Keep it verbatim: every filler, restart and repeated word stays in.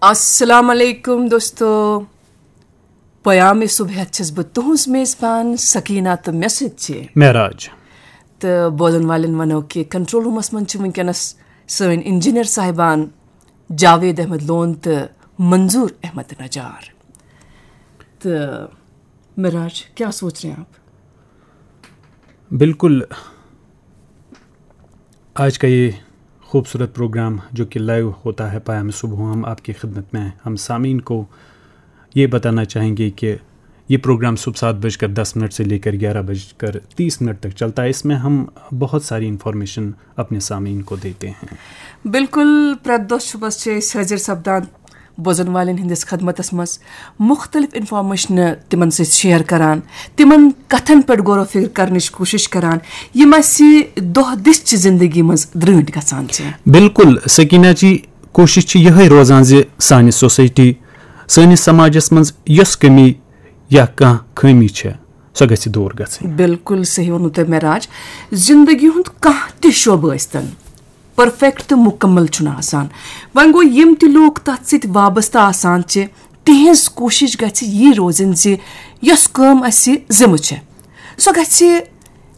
السلام علیکم دوستو، پیام صبح ہیتھ چھس بہٕ تُہنٛز میزبان سکینہ تہٕ مےٚ سۭتۍ چھِ معراج۔ تہٕ بوزن والٮ۪ن ونو کہِ کنٹرول رومس منٛز چھِ وٕنکیٚنس سٲنۍ انجینئر صاحبان جاوید احمد لون تہٕ منظور احمد نجار۔ تہٕ معراج، کیا سوچ رہے ہیں آپ؟ بالکل، آج کا یہ خوبصورت پروگرام جو کہ لائیو ہوتا ہے پیام صبح، ہم آپ کی خدمت میں ہیں۔ ہم سامعین کو یہ بتانا چاہیں گے کہ یہ پروگرام صبح سات بج کر دس منٹ سے لے کر گیارہ بج کر تیس منٹ تک چلتا ہے۔ اس میں ہم بہت ساری انفارمیشن اپنے سامعین کو دیتے ہیں۔ بالکل، پرٛٮ۪تھ دۄہ صُبحس چھِ أسۍ حٲضِر سپدان بوزن والٮ۪ن ہٕنٛدِس خدمتس منٛز، مُختٔلِف انفارمیشنہٕ تِمن سۭتۍ شیئر کران، تِمن کتھن پٮ۪ٹھ غور و فکر کرنٕچ کوٗشش کران، یِم اسہِ دۄہ دِش چہِ زندگی منٛز درٛٲنٹھۍ گژھان چھِ۔ بالکل سکینہ جی، کوٗشِش چھِ یِہے روزان زِ سانہِ سوسایٹی، سٲنِس سماجس منٛز یۄس کمی یا کانٛہہ خٲمی چھےٚ، سۄ گژھِ دوٗر گژھٕنۍ۔ بالکل صحیح ووٚنوٕ تۄہہِ معراج، زندگی ہُنٛد کانٛہہ تہِ شعبہٕ ٲسۍتن، پرفیکٹ تہٕ مُکمل چھُنہٕ آسان۔ وۄنۍ گوٚو، یِم تہِ لوٗکھ تتھ سۭتۍ وابستہٕ آسان چھِ، تِہنٛز کوٗشش گژھِ یی روزٕنۍ زِ یۄس کٲم اسہِ ذمہٕ چھےٚ، سۄ گژھِ